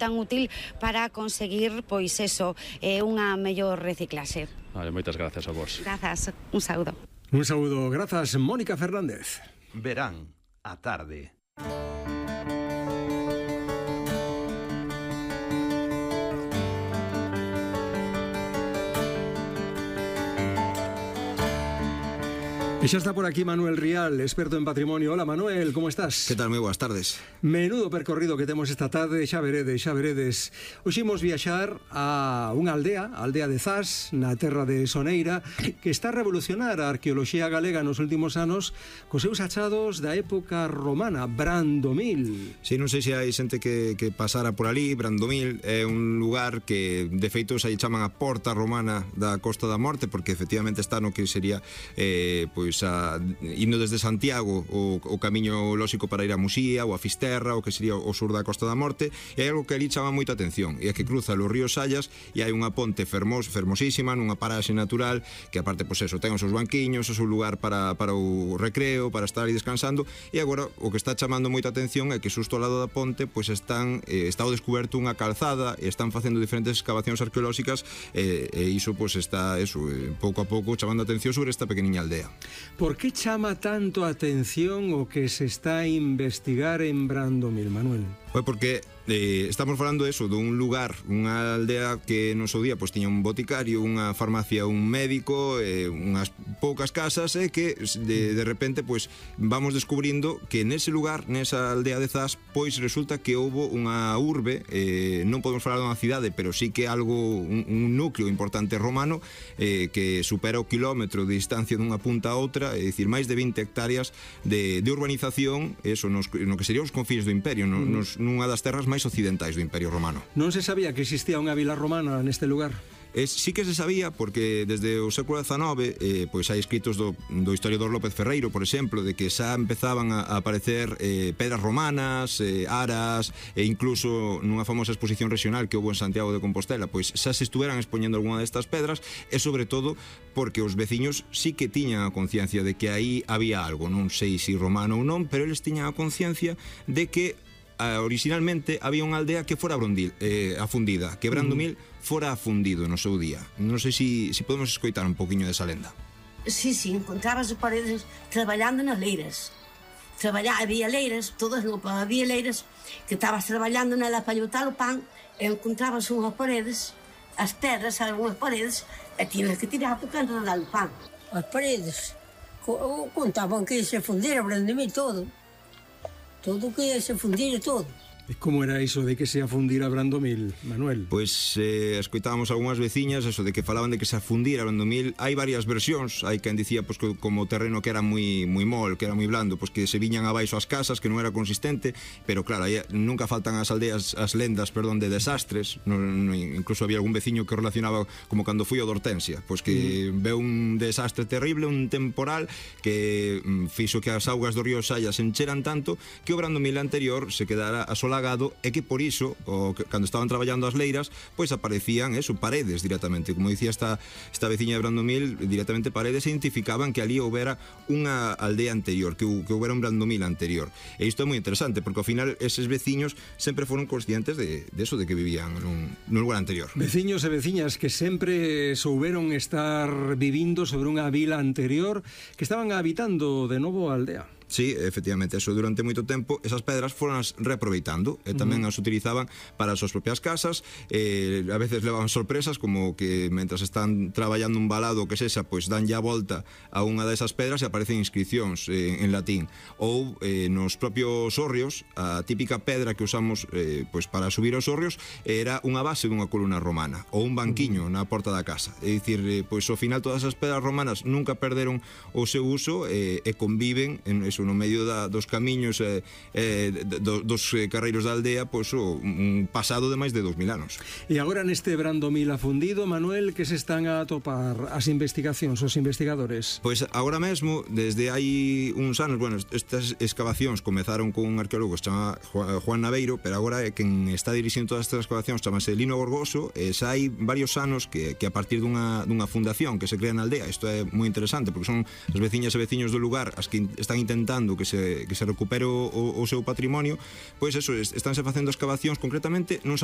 tan útil para conseguir, pois eso, unha mellor reciclaxe. Vale, moitas grazas a vos. Grazas, un saúdo. Un saúdo, grazas, Mónica Fernández. Verán a tarde. E xa está por aquí Manuel Rial, experto en patrimonio. Hola Manuel, como estás? Que tal? Moi boas tardes. Menudo percorrido que temos esta tarde, xa veredes, xa veredes. Hoxe imos viaxar a unha aldea, a aldea de Zas, na terra de Soneira, que está a revolucionar a arqueoloxía galega nos últimos anos cos seus achados da época romana, Brandomil. Si, non sei se hai xente que pasara por ali. Brandomil é un lugar que de feito se chaman a Porta Romana da Costa da Morte, porque efectivamente está no que sería pois indo desde Santiago o camiño lóxico para ir a Muxía ou a Fisterra, o que sería o sur da Costa da Morte. E hai algo que ali chama moita atención, e é que cruza o río Sallas e hai unha ponte fermosísima nunha paraxe natural que aparte, pois eso, ten os seus banquiños, o seu lugar para o recreo, para estar aí descansando. E agora o que está chamando moita atención é que xusto ao lado da ponte pois está o descuberto unha calzada e están facendo diferentes excavacións arqueolóxicas e iso pois está pouco a pouco chamando a atención sobre esta pequeniña aldea. Por que chama tanto a atención o que se está a investigar en Brandomil, Manuel? Pois porque estamos falando eso, dun lugar, unha aldea que no seu día pois tiña un boticario, unha farmacia, un médico, unhas poucas casas, e que de repente pois vamos descubrindo que nese lugar, nesa aldea de Zas, pois resulta que houbo unha urbe, non podemos falar dunha cidade, pero sí que algo, un núcleo importante romano, que supera o kilómetro de distancia dunha punta a outra, é dicir, máis de 20 hectáreas de urbanización, eso no que serían os confines do imperio, nunha das terras máis occidentais do Imperio Romano. Non se sabía que existía unha vila romana neste lugar? Sí que se sabía, porque desde o século XIX pois hai escritos do historiador López Ferreiro, por exemplo, de que xa empezaban a aparecer pedras romanas, aras, e incluso nunha famosa exposición regional que houve en Santiago de Compostela, pois xa se estuveran expoñendo algunha destas pedras, e sobre todo porque os veciños sí que tiñan a conciencia de que aí había algo, non sei se romano ou non, pero eles tiñan a conciencia de que originalmente había unha aldea que fora afundida, que Brandomil fora afundido no seu día. Non sei se podemos escoitar un poquinho desa lenda. Sí, encontrabas as paredes traballando nas leiras. Había leiras, todas non, había leiras que estabas traballando nela para llotar o pan, e encontrabas unhas paredes, as pedras, algunhas paredes, e tiñas que tirar por canto de dar o pan. As paredes contaban que se fundira Brandomil todo. Todo que se fundira todo. E como era iso de que se afundira Brandomil, Manuel? Pois escoitábamos algunhas veciñas eso de que falaban de que se afundira Brandomil. Hai varias versións. Hai quen dicía pois que como o terreno que era moi mol, que era moi blando, pois que se viñan abaixo as casas, que non era consistente. Pero claro, nunca faltan as aldeas, as lendas, de desastres. Incluso había algún veciño que relacionaba como cando foi o de Hortensia, pois que veu un desastre terrible, un temporal que fixo que as augas do río Sallas se encheran tanto que o Brandomil anterior se quedara asolagado, e que por iso, cando estaban traballando as leiras, pois aparecían paredes directamente, como dicía esta veciña de Brandomil, directamente paredes, e identificaban que ali houbera unha aldea anterior, que houbera un Brandomil anterior. E isto é moi interesante, porque ao final eses veciños sempre foron conscientes de eso, de que vivían nun lugar anterior. Veciños e veciñas que sempre souberon estar vivindo sobre unha vila anterior, que estaban habitando de novo a aldea. Sí, efectivamente, eso durante moito tempo esas pedras foron as reaproveitando e tamén as utilizaban para as súas propias casas. A veces levaban sorpresas, como que mentras están traballando un balado que sexa, pois danlle a volta a unha desas pedras e aparecen inscripcións en latín. Ou nos propios hórreos, a típica pedra que usamos pois para subir aos hórreos era unha base dunha columna romana ou un banquiño na porta da casa. É dicir, pois ao final todas as pedras romanas nunca perderon o seu uso e conviven en eso, no medio dos camiños dos carreiros da aldea, pois un pasado de máis de 2000 anos. E agora neste Brandomil afundido, Manuel, que se están a atopar as investigacións, os investigadores? Pois agora mesmo, desde hai uns anos, estas excavacións comezaron con un arqueólogo que se chama Juan Naveiro, pero agora quen está dirixindo todas estas excavacións chamase Lino Gorgoso, e xa hai varios anos que a partir dunha fundación que se crea na aldea. Isto é moi interesante, porque son as veciñas e veciños do lugar as que están intentando que se recupere o seu patrimonio. Pois eso, estánse facendo excavacións concretamente nuns